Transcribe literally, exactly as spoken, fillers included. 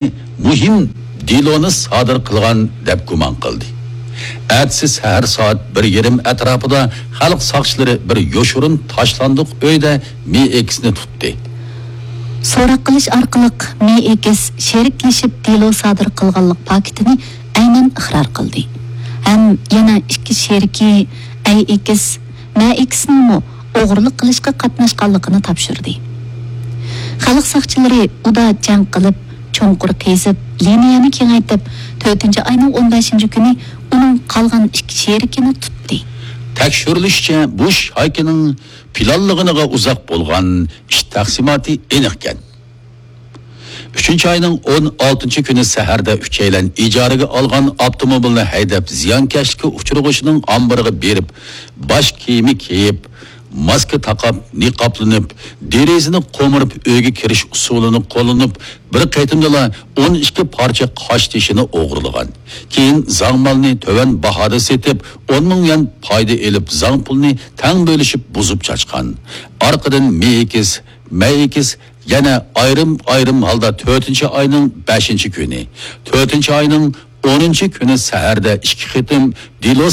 مۇھىم دېلونى سادىر قىلغان دەپ گۇمان قىلدى. ئەتىسى سەھەر سائەت بىر يېرىم ئەتراپىدا خەلق ساقچىلىرى بىر يوشۇرۇن تاشلاندۇق ئۆيدە مېيكىسنى تۇتتى. سوراق قىلىش ئارقىلىق مېيكىس شېرىكلىشىپ دېلو سادىر قىلغانلىق پاكىتىنى ئەينەن ئىقرار قىلدى ھەم يەنە ئىككى شېرىكى ئەيئېكىس، مەئېكىسنىڭمۇ ئوغرىلىق قىلىشقا قاتناشقانلىقىنى تاپشۇردى. خەلق ساقچىلىرى ئۇدا جەڭ قىلىپ، چوڭقۇر قېزىپ، لىنىيەنى كېڭەيتىپ، تۆتىنچى ئاينىڭ ئون بەشىنچى كۈنى ئۇنىڭ قالغان ئىككى شېرىكىنى تۇتتى. تەكشۈرۈلۈشىچە، بۇ شايكىنىڭ پىلانلىغىنىغا ئۇزاق بولغان ئىش تەقسىماتى ئېنىقكەن. ئۈچىنچى ئاينىڭ ئون ئالتىنچى كۈنى سەھەردە ئۈچەيلەن ئىجارىگە ئالغان ئاپتوموبىلنى ھەيدەپ، زىيانكەشلىككە ئۇچرىغۇچىنىڭ ئامبىرىغا بېرىپ، باش كىيىمى كىيىپ، ماسكا تاقاپ، نىقابلىنىپ، دېرىزىنى قومۇرۇپ، ئۆيگە كىرىش ئۇسۇلىنى قوللىنىپ، بىر قېتىمدىلا ئون ئىككى پارچە قاشتېشىنى ئوغرىلىغان. كېيىن زاڭ مالنى تۆۋەن باھادا سېتىپ، ئون مىڭ يۈەن پايدا ئېلىپ، زاڭ پۇلنى تەڭ بۆلۈشۈپ، بۇزۇپ چاچقان. ئارقىدىن مېيكىس، مەيكىس يەنە ئايرىم-ئايرىم ھالدا تۆتىنچى ئاينىڭ بەشىنچى كۈنى، تۆتىنچى ئاينىڭ ئونىنچى كۈنى سەھەردە ئىككى قېتىم دېلو